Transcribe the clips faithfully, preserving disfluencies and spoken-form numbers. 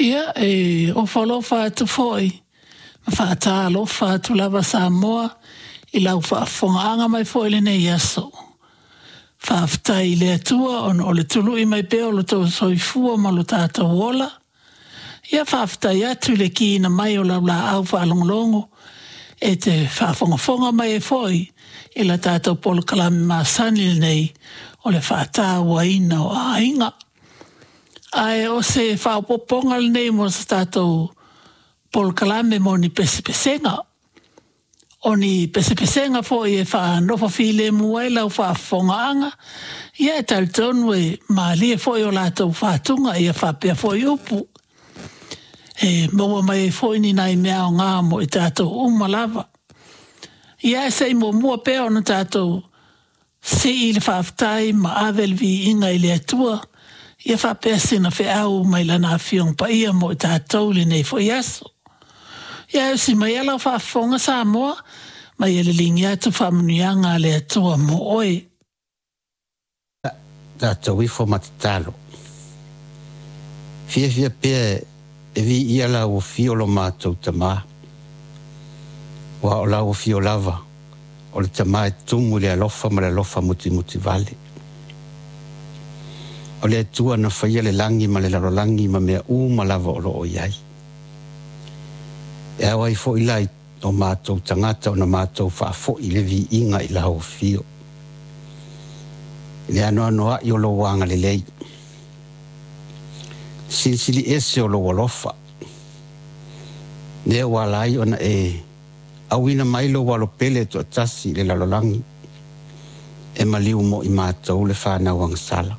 Ia, e ofo alofa atu foi ma faatalofa atu lava Samoa i lau faafofogaaga mai foi i lenei aso. Faafetai i le Atua ona o le tului mai pea o lo outou soifua ma lo tatou ola. Ia faafetai atu i le kiina mai o lau laau faalogologo e te faafogafoga mai ai foi i la tatou polokalame masani lenei o le faatauaina o aiga. Ae o se faaopoopoga lenei mo se tatou polokalame mo ni pesepesega. O ni pesepesega foi e faanofo filemu ai lau faafofogaaga, ia e talitonu e malie foi o latou fatuga ia faapea foi upu. E maua mai ai foi ni nai mea aoga mo i tatou uma lava. Ia ae se i muamua pea ona tatou sii le faafetai ma ave le viiga i le Atua, ia faapea sina feau mai Lana Afioga Paia mo i tatou i lenei foi aso. Ia ae usi maia lau faafofoga Samoa, ma ia liligi atu faamanuiaga a le Atua mo oe. Tatou ifo ma tatalo. Fiafia pea e viia lau afio lo matou Tamā, aua o lau afio lava o le Tama e tumu i le alofa ma le alofa mutimutivale. O le Atua na faia le lagi ma le lalolagi ma mea uma lava o lo o i ai. E ao ai foi la i o matou tagata ona matou faafoi le viiga i lau afio. I le anoanoai o lou agalelei, silisili ese o lou alofa, lea ua ala ai ona e auina mai lou alo pele e toatasi i le lalolagi, e maliu mo i matou le fanau agasala.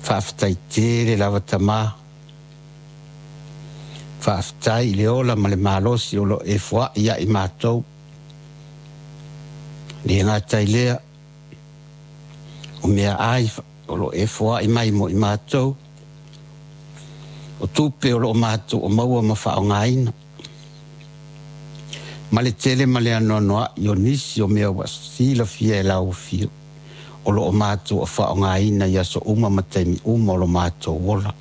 Faafetai tele lava Tamā, faafetai i le ola ma le malosi o lo o e foai ia i matou. Le gata i lea, o meaai o lo o e foai mai mo i matou, o tupe o lo o matou o maua ma faaaogaina, ma le tele ma le anoanoai o nisi o mea ua silafia e lau afio o lo o matou o faaaogaina i aso uma ma taimi uma o lo matou ola.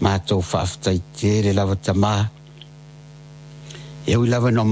Matou faafetai tele lava Tamā, e ui lava ina